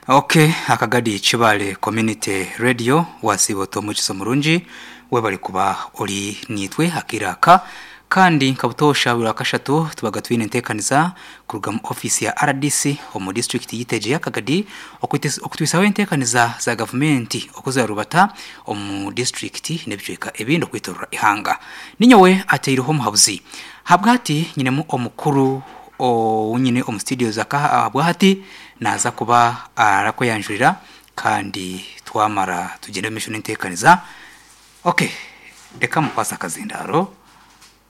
Ok akagadi Kibale community radio wasiiba ota omwegyesa omurungi webare kuba ori naitwe akaire aka kandi nka butoosha buri rwakashatu tubaga twine enteekaniza kuruga mu ofiisi ya rdc omu disiturikiti yaitu egi eya Kagadi okutwisaho enteekaniza za gavumenti oku zirarubata omu disiturikiti n'ebicweka ebindi okwetorora eihanga. Ninyowe ateireho omuhabuzi Ahabwahati nyinemu omukuru ou nyine omu studios aka ahabwahati naaza kuba arakweyanjurira kandi twamara tugyende omu maisho n'enteekaniza. Ok, reka mukwase akazindaaro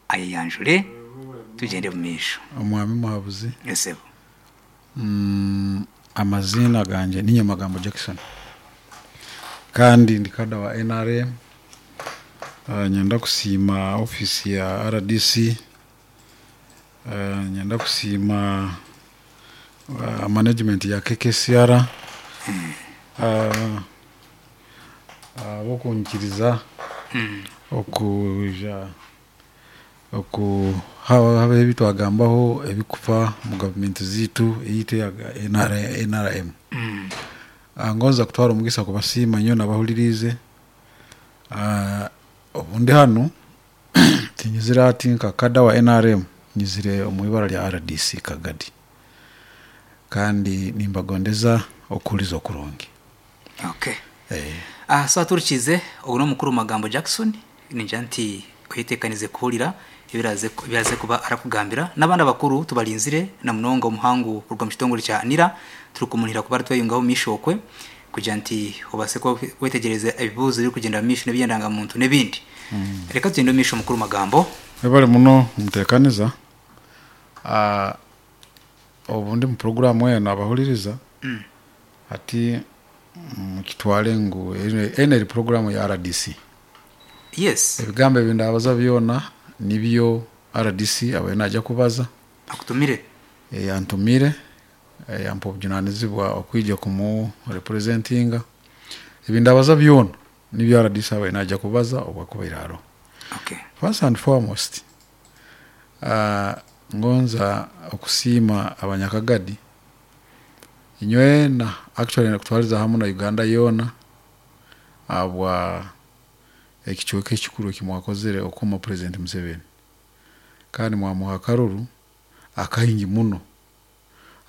ayeyanjure tugyende omu maisho. Omwami Muhabuzi. Yes sebo. Amaziina gangye ni Nyamagambo Jackson kandi ndi kada wa nrm. Niinyenda kusiima ofiisi ya rdc, niinyenda kusiima management ya KKCR ahabw'okunyikiriza okwija oku habaho ebi twagambaho ebirikufa omu gavumenti zaitu eyaitu eya NRM. Ngonza kutwara omugisa kubasiima nyowe n'abahuririize. Obu ndi hanu tinyizire hati nka kada wa nrm, nyizire omu ibara rya rdc Kagadi kandi nimbagondeza okuhuriza okurungi. Okay. So aturikiize, ogu n'omukuru Magambo Jackson, ningira nti oyeteekanize kuhurira ebiraaze ebi araaze kuba arakugambira. N'abandi abakuru tubarinzire na munonga omuhangu kuruga omu kitongore kya NIRA, turikumunihira kuba aratweyungaho omu maisho okwe. Kugira nti obaase kuba wetegyereza ebibuuzo ebirikugyenda omu maisho n'eby'endangamuntu n'ebindi. Reka tugyende omu maisho mukuru Magambo. Webale muno Muteekaniza. Obu ndi mu puroguraamu enu abahuririza hati mukitware ngu enu eri puroguraamu ya rdc. Yes. Ebigambo ebi ndaabaza byona nibyo rdc abaire naija kubaza. Akutumire. Antumire. Yampa obujunanizibwa okwija kumu representinga. Ebi ndabaza byona nibyo rdc abaire naija kubaza obu akubaire aroho. Okay. First and foremost, ngonza okusiima abanyakagadi inywena actually kutwariza hamu na Uganda yoona ahabwa ekicweka ekikuru eki mwakozire okukoma President Museveni kandi mwamuha akaruru akaingi muno.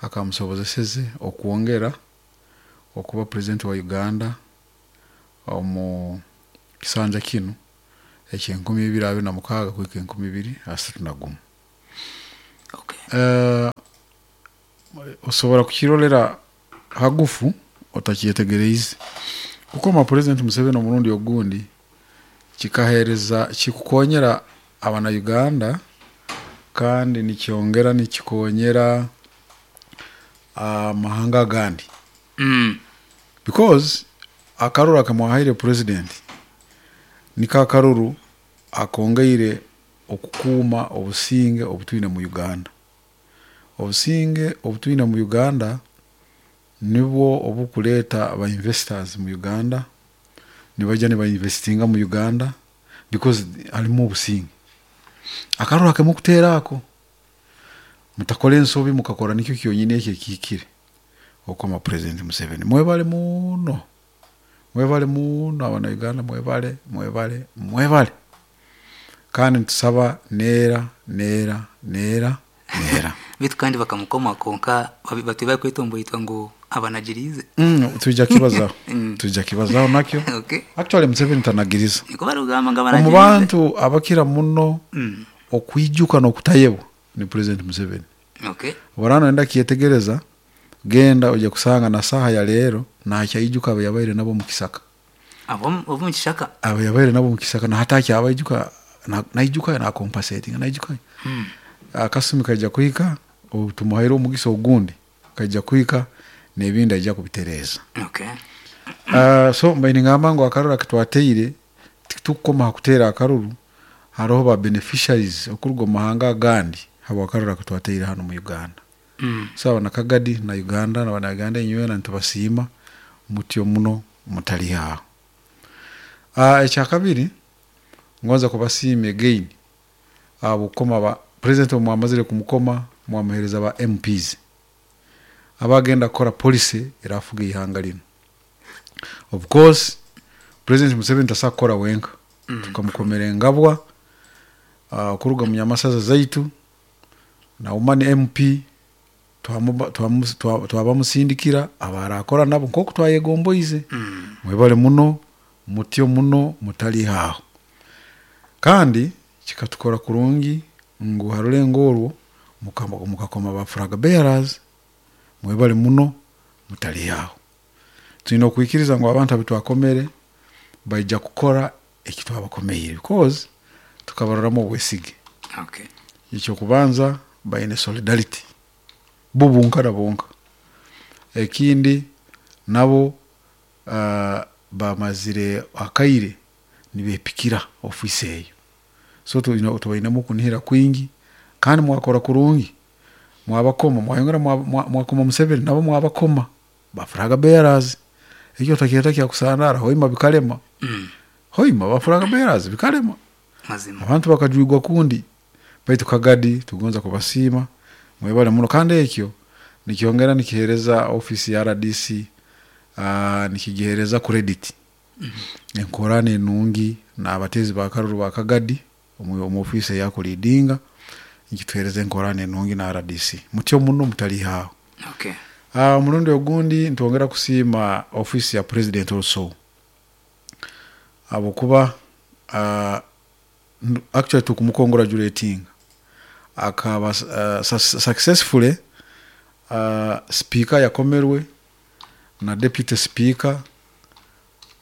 akamusobozeseze okwongera okuba president wa Uganda omu kisanja kinu ekyenkumi ibiri 26 kuhika 2031. Osobora kukirorera hagufu otakyetegereize. Kukoma president Museveni omurundi ogundi kikahereza kikukonyera abana Uganda kandi nikyongera nikikonyera amahanga agandi because akaruru akamwahaire president niko akaruru akongeire okukuuma obusinge obutwine mu Uganda. Obusinge obutwine mu Uganda nibwo obukureeta ba investors mu Uganda, nibaija niba investinga mu Uganda because harimu obusinge. Akaruru akemwe kuteera ako, mutakora ensobi mukakora nikyo kyonyini ekyo ekihikire okukoma president Museveni. Mwebare muno, mwebare muno abana Uganda mwebare, mwebare, mwebare. Kandi nitusaba neera, neera, neera, neera. Beitu kandi bakamukoma kwonka batwire barikwetomboitwa ngu abanagiriize. Twija kibazaho, twija kibazaho nakyo. Okay. Actually Museveni tanagiriza. Nikwo barikugamba ngu Omu abanagiriize. bantu abakira muno okwijuka n'okutayebwa ni President Museveni. Okay. Obu oraaba noyenda kukyetegereza, genda oije kusanga na saaha ya reero nakyaijuka abu yabaire nabo omu kisaka. Ab'omu kishaka. Abu yabaire nabo omu kishaka na hati akyabaijuka, naijuka nakompasetinga naijuka. Akasumi kaija kuhika obu tumuhaire omugisa ogundi, kaija kuhika n'ebindi aija kubitereeza. Okay. So mbaire ningamba ngu akaruru aku twateire titukukoma aha kuteera akaruru, hariho ba beneficiaries okuruga omu mahanga agandi habw'akaruru aku twateire hanu omu Uganda. So abanakagadi na Uganda na bana Uganda inywena nitubasiima mutyo muno mutari aho. Ekyakabiri ngonza kubasiima again ahabw'okukoma ba president obu mwamazire kumukoma mwamuhereza ba MPs. Abagenda kukora policy erafuga eihanga rinu. Of course president Museveni tasobola kukora wenka, tukamukomera engabwa kuruga omu nyamasaza zaitu na woman MP twabamusindikira abarakora nabo nk'oku twayegomboize. Mwebale muno, mutyo muno mutariiha aho. Kandi kikatukora kurungi ngu ha rurengo orwo mukakoma ba flag bearers. Mwebale muno mutariiha aho. Twine okwikiriza ngu abantu abu twakomere baija kukora eki twabakomeire because tukabaroramu obwesige. Okay. Eky'okubanza baine solidarity bo bonka na bonka. Ekindi nabo bamazire akaire nibepikira ofiisi eyo. So tubainemu okunihira kwingi kandi mwakora kurungi mwabakoma mwayongera mwakoma Museveni nabo mwabakoma ba flag bearers. Ekyo otakyeta kyakusandara hoima bikarema. Hoima ba flag bearers bikarema. Mazima. Abantu bakajwigwa kundi baitu Kagadi tugonza kubasiima mwebale muno kandi ekyo nikyongera nikihereza ofiisi ya RDC nikigihereza credit. Enkorana enungi n'abateezi ba karuru ba Kagadi omu ofiisi ei akuleadinga nikituhereza enkorana enungi na RDC. Mutyo muno mutariiha aho. Okay. Omurundi ogundi nitwongera kusiima ofiisi ya president also ahabw'okuba actually tukumukongratulatinga akaba successfully speaker yakomerwe na deputy speaker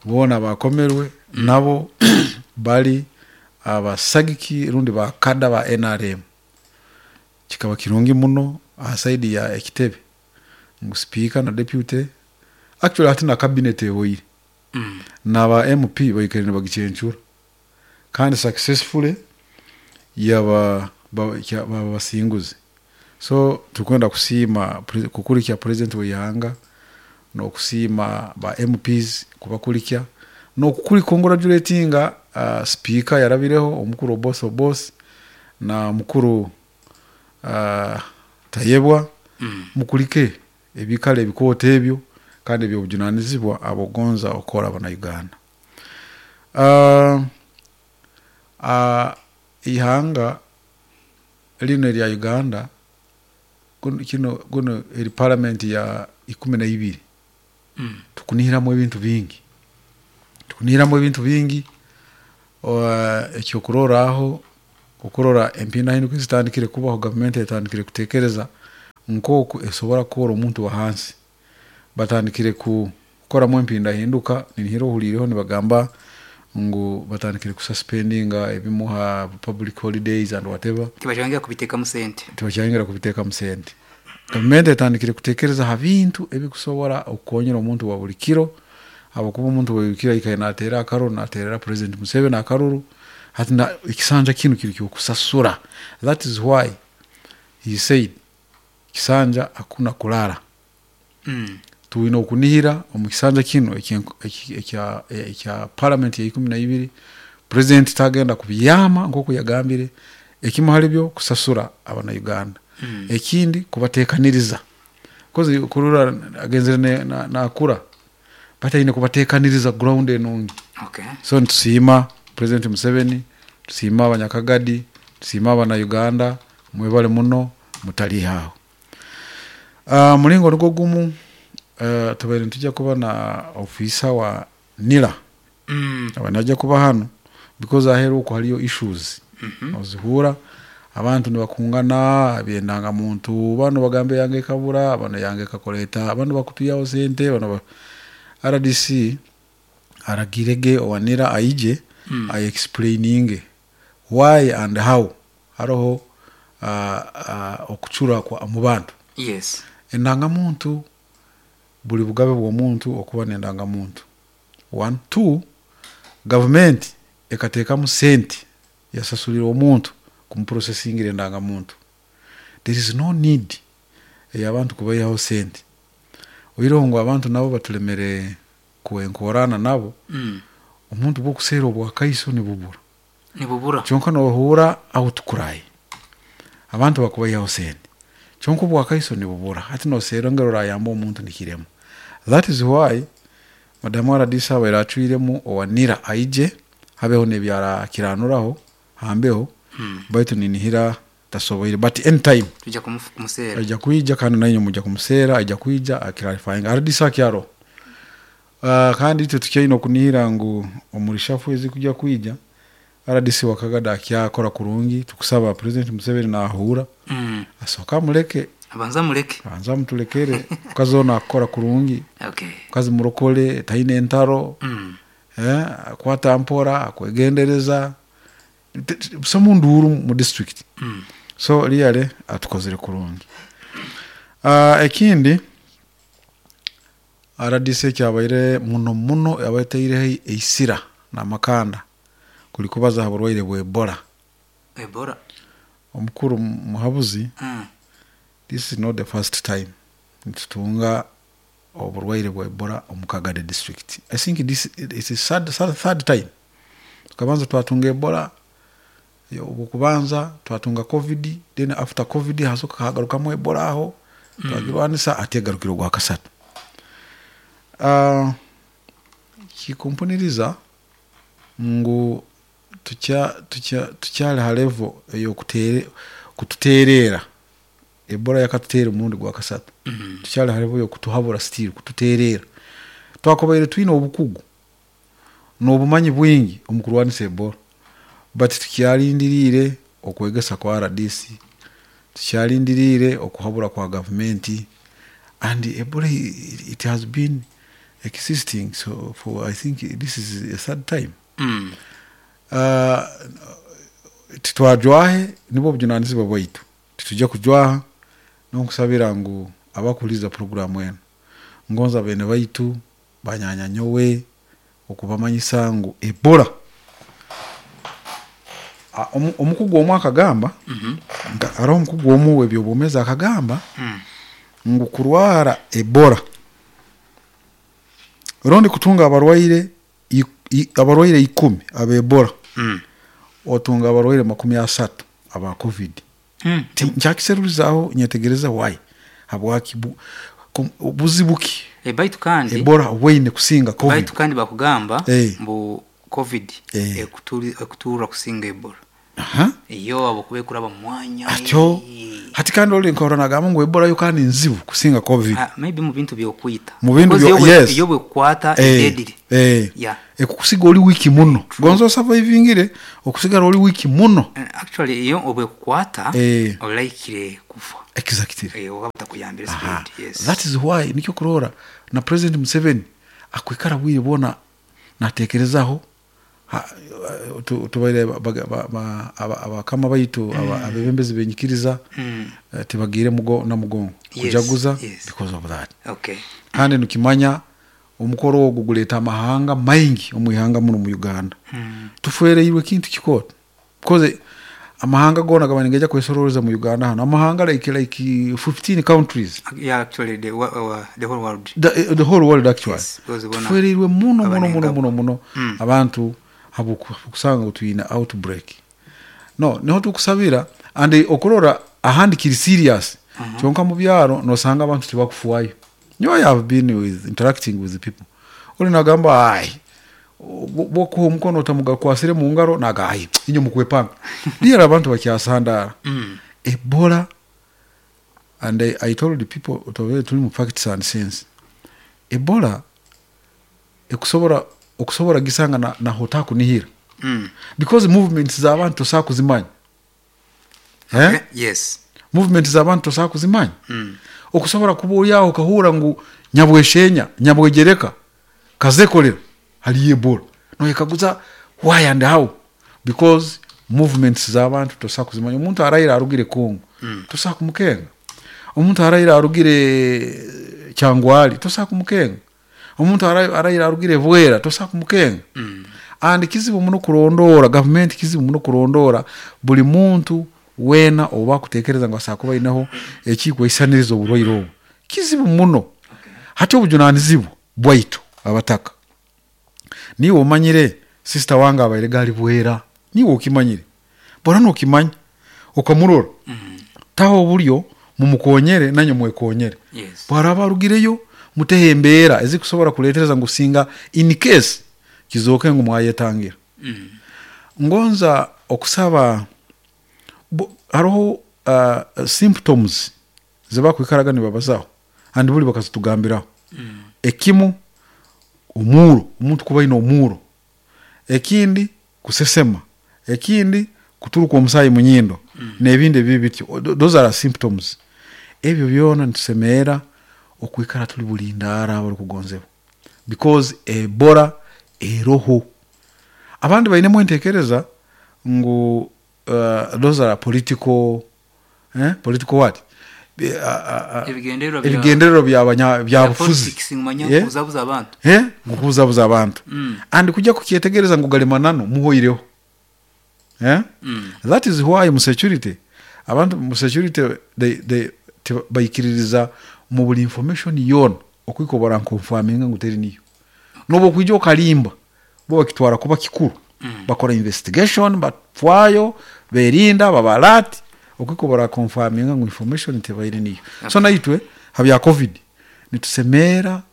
boona bakomerwe nabo bari abasagiki rundi ba kada ba NRM. Kikaba kirungi muno aha side ya ekitebe ngu speaker na deputy actually hati na cabinet ehoire naba MP baikaire nibagicencura kandi successfully yaba baba basinguzi. So turikwenda kusiima kukurikya president w'eihanga n'okusiima ba MPs kubakurikya n'okukongratulatinga speaker yarabireho omukuru Oboth Oboth na mukuru Tayebwa mukurike ebikaro ebikooto ebyo kandi eby'obujunanizibwa ahabw'okugonza okukora abana-Uganda. Eihanga rinu erya Uganda gunu eri parliament ya 12 tukunihiramu ebintu bingi. Tukunihiramu ebintu bingi ekyokurorraho okurora empindahinduka ezitandikire kubaho gavumenti etandikire kutekereza nk'oku esobora kukora omuntu wa hansi. Batandikire kukoramu empindahinduka ninihira ohuliireho nibagamba ngu batandikire kususpendinga ebimu ha public holidays and whatever. Tibakyayongera kubiteekamu sente. Tibakyayongera kubiteekamu sente. Gavumenti etandikire kutekereza ha bintu ebikusobora okukonyera omuntu wa buli kiro habwokuba omuntu wa buli kiro aikaire nateera akaruru nateerera president Museveni akaruru hati ekisanja kinu kiri ky'okusasura. That is why he said kisanja hakuna kulala. Twine okunihira omu kisanja kinu ekya parliament ya 12 president tagenda kubyama nk'oku yagambire. Ekimu hali byo kusasura abana-Uganda. Ekindi kubateekaniriza because kurora agenzere nakura bataine kubateekaniriza ground enungi. Okay. So nitusiima president Museveni, tusiima abanyakagadi, tusiima abana-Uganda, mwebale muno mutariiha aho. Omuringo nigwo gumu tubaire nitwija kuba na ofiisa wa NIRA aba naija kuba hanu because aheeru okwo hariyo issues ozihurra abantu nibakungana eby'endangamuntu banu bagamba eyange ekabura banu eyange ekakora eta banu bakutwihaho sente banu RDC aragirege owa NIRA aije aexplaininge why and how haroho okucura omu bantu. Yes. Endangamuntu buri bugabe bw'omuntu okuba n'endangamuntu. One, two, gavumenti ekateekamu sente yasasurira omuntu kumuprosesingira endangamuntu. There is no need ey'abantu kubaihaho sente. Oihireho ngu abantu nabo batulemere kwenkorana nabo, omuntu bw'okuseera obwakaiso nibubura. Nibubura. Kyonka nohurra ahu tukuraaya abantu bakubaihaho sente. Kyonka obwakaiso nibubura. Hati noseerra engeri orayamba omuntu nikirema. That is why Madamu rdc abaire acwiremu owa NIRA aije habeho n'ebi arakiranuraho ha mbeho baitu ninihira tasoboire but any time Twija kumuseera. aija kwija kandi nainywe mwija kumuseera aija kwija a clarifyinge. Rdc akyaroho. Kandi itwe tukyaine okunihira ngu omu reshuffle ezikuja kwija Rdc wa Kagadi akyakora kurungi tukusaba President Museveni nahuura asooke amureke. Abanze amureke. Abanze amuturekere omukazi onu akukora kurungi. Omukazi murokore taine entaro, akwata mpora, akwegendereza, busamu nduuru mu district. So really atukozire kurungi. Ekindi Rdc ekyabaire muno muno yabaire etaireho eisira n'amakanda kuri kubaza aha burwaire bwa Ebola. Ebola? Omukuru Muhabuzi, this is not the first time nitutunga oburwaire bwa Ebola omu Kagadi district. I think this is third, third time. Tukabanza twatunga Ebola obw'okubanza twatunga Covid, then after Covid hasoka hagarukamu Ebola aho twagirwanisa hati egarukire ogwakasatu. Kikumpuniriza ngu tukyari ha level ey'okututeereera. Ebola yakatuteera omurundi gwakasatu. Tukyari ha level y'okutuhabura still kututeereera. Twakubaire twine obukugu n'obumanyi bwingi omu kurwanisa Ebola but tukyarindiriire okwegesa kwa rdc, tukyarindiriire okuhabura kwa gavumenti and Ebola it has been existing so for I think this is the third time. Titwajwahe nibwo bujunanizibwa bwaitu, titwija kujwaha n'okusabira ngu abakuhuriiriza puroguraamu enu ngonza beene baitu, banyaanya nyowe okubamanyisa ngu Ebola omukugu omwe akagamba, hariho omukugu omwe ow'eby'obwomeezi akagamba ngu kurwara Ebola rundi kutunga abarwaire abarwaire ikumi aba Ebola, otunga abarwaire 30 aba Covid. Nkyakiserurizaho nyetegereza why, habwaki, buzibu ki Baitu kandi Ebola obwaine kusinga Covid? Baitu kandi bakugamba mbu Covid ekuturra kusinga Ebola. Iyo ahabw'okuba ekuraba mu mwanya. Atyo hati kandi ori nkahurira nagamba ngu Ebola yo kandi nzibu kusinga Covid. Maybe mu bintu by'okwita. Mu bintu Because byo yes. Yo bwekukwata deadly. Yeah. Ekukusiga ori weak muno. Gonza osurvivingire okusigara ori weak muno. Actually yo obwekukwata olaikire kufa. Exactly. Oba batakuyambire speed. Yes. That is why nikyo okuroora na President Museveni akwikara bwire bwona natekerezaho tubaire abakama baitu abebembezi b'enyikiriza tibagiire na mugongo kujaguza because of that. Kandi nikimanya omukoro ogu gureeta amahanga maingi omu ihanga muno omu Uganda. Tufwereirwe ekintu kikooto because amahanga goona gaba nigaija kwesororeza omu Uganda hanu. Amahanga like 15 countries. Yeah, actually the, the whole world. The whole world actually. Yes, because bona Tufwereirwe muno muno muno abanenga. Muno muno abantu habw'okusanga ngu twine outbreak. No, niho tukusabira and okurora ahandi kiri serious. Kyonka mu byaro nosanga abantu tibakufuayo. Nyowe I have been with interacting with the people. Ori nagamba ai bwokuha omukono otamugakwasire mu ngaro naga ai inyo mukwepanga. Really abantu bakyasandara. Ebola and I told the people tubere turi mu facts and sense. Ebola ekusobora okusobora gisanga na, naho otakunihira. Because movements z'abantu tosobola kuzimanya. Eh? Okay. Yes. Movement z'abantu tosobola kuzimanya. Okusobora kuba ori aho okahurra ngu Nyabweshenya, Nyabwegyereka, Kazekorera hariyo Ebola. Noyekaguza why and how? Because movements z'abantu tosobola kuzimanya. Omuntu araire arugire Congo, tosobola kumukenga. Omuntu araire arugire Kyangwali, tosobola kumukenga. Omuntu araire arugire Bwera, tosobola kumukenga. And kizibu muno kurondoora, gavumenti kizibu muno kurondoora buri muntu weena ou bakuteekereza ngu asobola kuba aineho ekikwehisaniriza oburwaire obu. Kizibu muno. Hati obujunanizibwa bwaitu abataka. Niiwe omanyire sister wange abaire ari Bwera, niiwe okimanyire. Bora nokimanya okamurora. Taho oburyo. Mumukonyere nanye mwekonyere. Yes. Bwaraba arugireyo muteho embeera ezikusobora kuretereza ngu singa in case kizooke ngu mwayetangira. Mm. Ngonza okusaba hariho symptoms zibakwikaraga nibabazaho and buri bakazitugambiraho. Mm. Ekimu omuuro, omuntu kuba aine omuuro. Ekindi kusesema, ekindi kuturuka omusaayi munyindo n'ebindi ebibi bityo. Those are symptoms. Ebyo byona nitusemerra okwikara turi bulindaara abarikugonzebwa because Ebola eroho. Abandi bainemu entekereza ngu those are political eh, political what? Ebigendererwa bya- Ebigendererwa bya bya byabufuzi. politics ngu manya Yeah. kubuzabuza abantu. Eh, ngu kubuzabuza abantu. Mm. And kujya kukyetegereza ngu gali mananu muhoireho. Eh? Mm. That is why mu security abantu mu security they baikiririza mu buli information yoona okwika barankonfaminga ngu teri niyo. Nobu okwija okalimba bo bakitwara kuba kikuru. Mm. Bakora investigation batwayo berinda baba alert okwika barakonfaminga ngu information tebaire niyo. So naitwe habya covid nitusemeera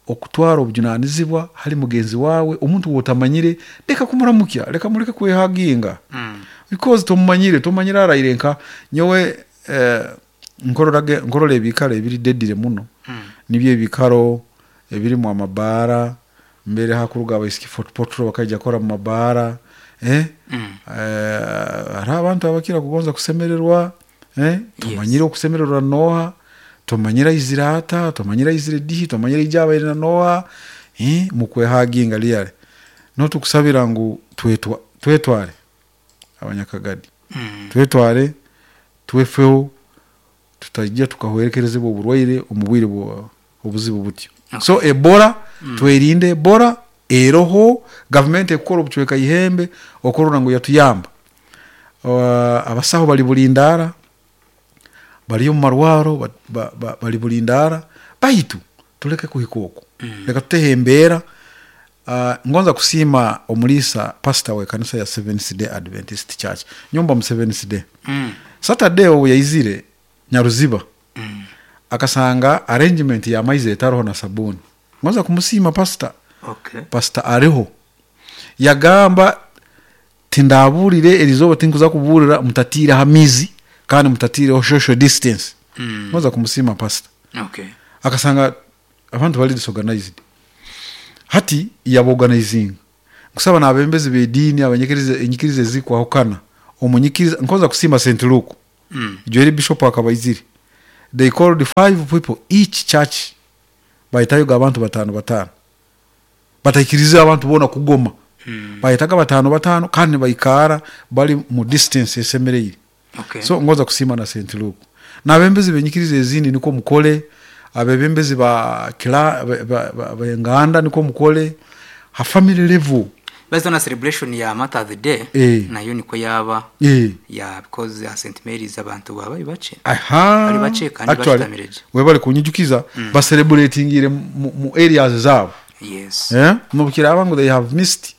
okutwara obujunanizibwa hali mugenzi wawe omuntu wotamanyire leka kumuramukya leka muleke kwehaginga. Mm. Because tomumanyire tomanyire araire nka nyowe nkorora ebikaro ebiri dedire muno. Mm. Nibyo ebikaro ebirimu amabaara mbere hakuruga abaisiki Fort Portal bakaija kukora mu mabaara. Mm. Hariho abantu abakira kugonza kusemererwa. Yes. Tomanyire okusemererwa noha, tomanyire aizire ata, tomanyire aizire dihi, tomanyire ija abaire na noha. Mukwehaginga liyare. Notukusabira ngu twetware abanyakagadi. Mm. Twetware twefeho tutajja tukahwerekerezebwa oburwaire omu bwire obuzibu butyo. Okay. So Ebola twerinde Ebola eroho gavumenti ekukora obucweka ihembe okurora ngu yatuyamba. Abasaho bari bulindaara bari omu marwaro bari bulindaara baitu tuleke kuhika okwo. Mm. Leka tuteho embeera. Ngonza kusiima omuriisa pastor w'ekanisa ya Seventh Day Adventist Church. Nyomba mu Seventh Day. Mm. Saturday obu yaizire Nyaruziba Mm. akasanga arrangement ya maizi etaroho na sabuni. Ngonza kumusiima pastor. Okay. Pastor ariho. Yagamba tindaburire erizoba tinkuza kuburira mutatire ha mizi kandi mutatireho social distance. Mm. Ngonza kumusiima pastor. Okay. Akasanga abantu bali disorganized. Hati yaborganizing. Nkusaba n'abembezi b'ediini abanyikiriza enyikiriza ezikwahukana. Omunyikiriza nkoza kusiima St. Luke. Mm. Joel Bishop akabaizire. They called 5 people each church. Bayitayo abantu batano batano. Bataikiriza abantu bona kugoma. Mm. Bayitaga batano batano kandi baikara bali mu distance esemereire. Okay. So ngoza kusiima na St. Luke. N'abembezi benyikiriza ezindi niko mukole, abebembezi ba kila ba nganda niko mukole, ha family level. Based on a celebration ya Mother's Day nayo niko yaba ya because ya St. Mary's abantu baba bace. Aha. Bari bace kandi Actually, bashitamireje. we bari kunyijukiza ba celebratingire mu areas zabo. Yes. Nobukira ngo they have missed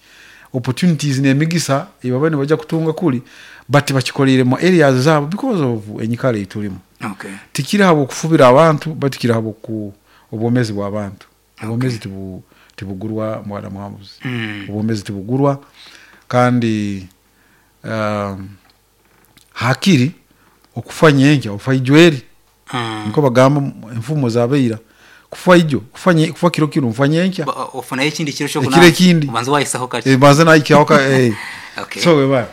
opportunities n'emigisa ibabane bajya kutunga kuri but bakikorere mu areas zabo because of enyikara iturimu. Okay. Tikiri habo kufubira abantu but kiri habo ku obwomezi bw'abantu. Obwomezi tibugurwa mwana muhamuzi. Mm. Obwomezi tibugurwa kandi hakiri okufa nyenkya ofa ijweri. Mm. Niko bagamba enfumo zabeira kufa ijo kufa kiro kiro mfa nyenkya. Ofuna ekindi kiro cyo Ekiro ekindi. Ubanza wayisaho kake. Banza nayikyaho ka. Okay. So we ba.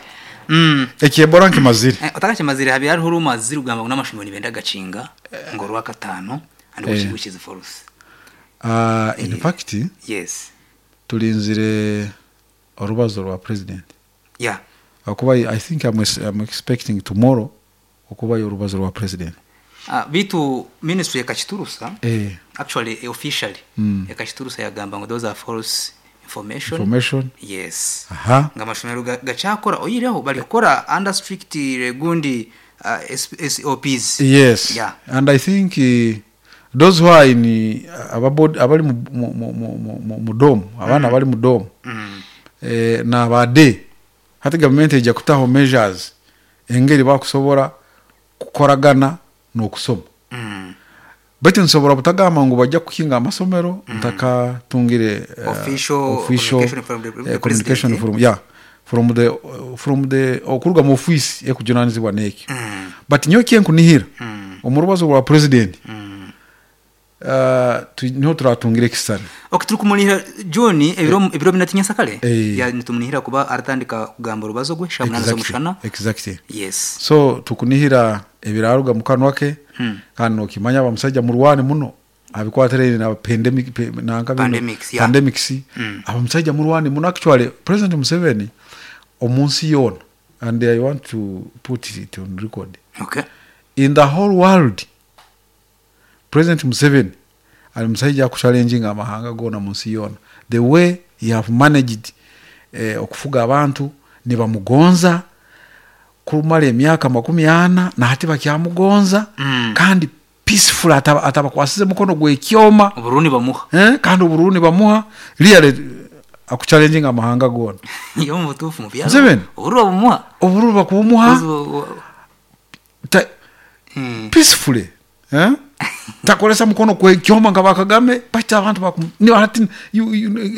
Mm. Ekyebora nkimazire. Otakakimazire habi hariho rumazire ugamba ngo n'amashumiro nibenda gacinga ngo rwa katano and which is false. In fact, Yes. tulinzire orubazo rwa president. Yeah. Akuba I think I'm expecting tomorrow okuba orubazo rwa president. Bitu ministry yakachiturusa. Actually officially yakachiturusa yagamba ngo those are false information. Information. Yes. Aha. Nga amashomero gachakora oyireho bali kukora under strict gundi SOPs. Yes. Yeah. And I think those who are in abali mu dom, abana bali mu dom. Mm. Na bade hati government ejja kutaho measures engeri bakusobora kukoragana N'okusoma. Baitu nsobora butagamba ngu bajja kukinga amasomero ntakatungire Official official communication from the communication president. from, yeah, from the, from the okuruga mu ofiisi ekujunanizibwa n'ekyo. But nyowe ekyenkunihira omu rubazo rwa president niho turatungira ekisisani. Ok turikumunihira John ebiro ebiro bina tinyensakare Eh. ya nitumunihira kuba aratandika kugamba orubazo gwe shaaha munaana Exactly, z'omushana. exactly. Yes. So tukunihira ebiraruga mu kanwa ke kandi nokimanya aba musaija murwani muno abikwatiraine na pandemic, nanka bino, Pandemics, yeah. pandemics. Aba musaija murwani muno actually President Museveni omu nsi yoona and I want to put it on record. Okay. In the whole world President Museveni ari musaija akuchallenginga amahanga goona mu nsi yoona the way he have managed okufuga abantu nibamugonza kumara emyaka 40 nahati bakyamugonza kandi peaceful atabakwasize mukono gw'ekyoma. Obururu nibamuha. Kandi obururu nibamuha really akuchallenginga amahanga goona. Iyo omu butuufu mu byaro Museveni obururu babumuha. Obururu bakubumuha peacefully. Takoresa mukono kwekyoma nka ba Kagame baitu abantu bakum, ni hati you,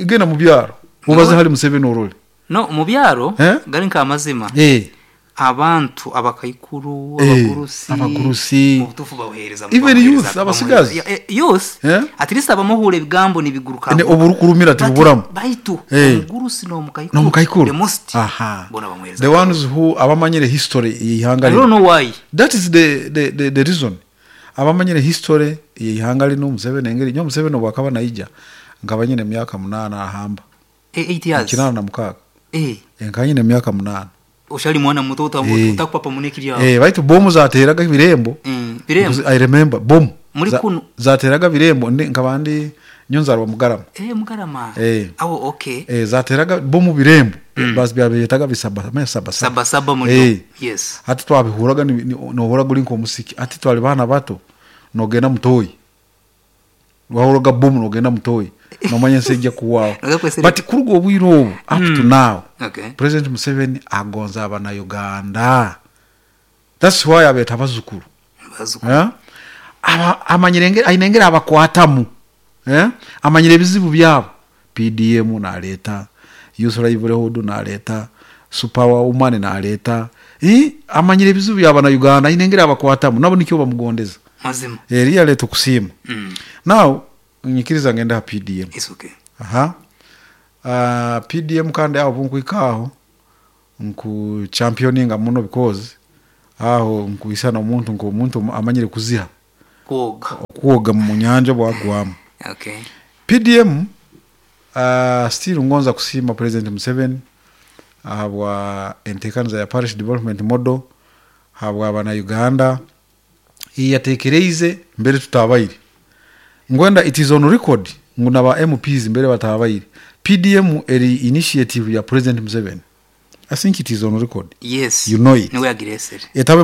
genda mu byaro ubaze hari Museveni orole. No mu byaro Eh? gari nka amazima. Abantu abakaikuru, abagurusi, abagurusi. mu butuufu babuhereza, Even babuhereza, youth, abasigazi. bamuhereza. Youth, at least abamuhura ebigambo nibiguruka. Ne oburukurumira tibuburamu. Baitu omugurusi n'omukaikuru. N'omukaikuru. The most. Aha. Bona bamuhereza. The ones who abamanyire history y'ihanga I don't lino. know why. That is the reason. Abamanyire history y'ihanga lino Museveni engeri nyo Museveni obwakaba naija nkaba nyine emyaka 8 ahamba. 8 years. 86. Nkaba nyine emyaka 8. Oshali mwana muto utakupapa munekiri yawe. Baitu bomu zateraga birembo. Birembo. Because I remember bomu. Muri kuno. Zateraga birembo ndi nkaba ndi nyonzarwa Mugarama. Mugarama. Awo okay. Zateraga bomu birembo. Basi byabetaga bisaba, maya saba saba. Saba saba muri. Yes. Ati twabihuraga nohora guri nko musiki. Ati twali bana bato nogenda mutoyi. Wahuraga bomu nogenda mutoyi. Nomanya nsejja kuwawo. Noga kwesere. But kuruga obwire obu up to now. Okay. President Museveni agonza abana Uganda. That's why abeta abazukuru. Abazukuru. Aba amanyire ainengera abakwatamu. Amanyire ebizibu byabo. PDM naleta, Youth Livelihood naleta, Super Woman naleta. Amanyire ebizibu byabo na Uganda ainengera abakwatamu nabo nikyo bamugondeza. Mazima. Eriya leto kusiima. Now nyikiriza ngenda ha PDM. It's okay. Aha. PDM kandi aho bunkwikaho nku championinga muno because aho nkuisana omuntu nko omuntu amanyire kuziha. Kwoga. Kwoga mu nyanja bwagwamu. Okay. PDM still ngonza kusiima President Museveni habwa entekaniza ya Parish Development Model habwa abana Uganda iyatekereize mbere tutabaire. Ngwenda it is on record ngu naba MPs mbere batabaire. PDM eri initiative ya President Museveni. I think it is on record. Yes. You know it. Niwe yagiresere. Etabe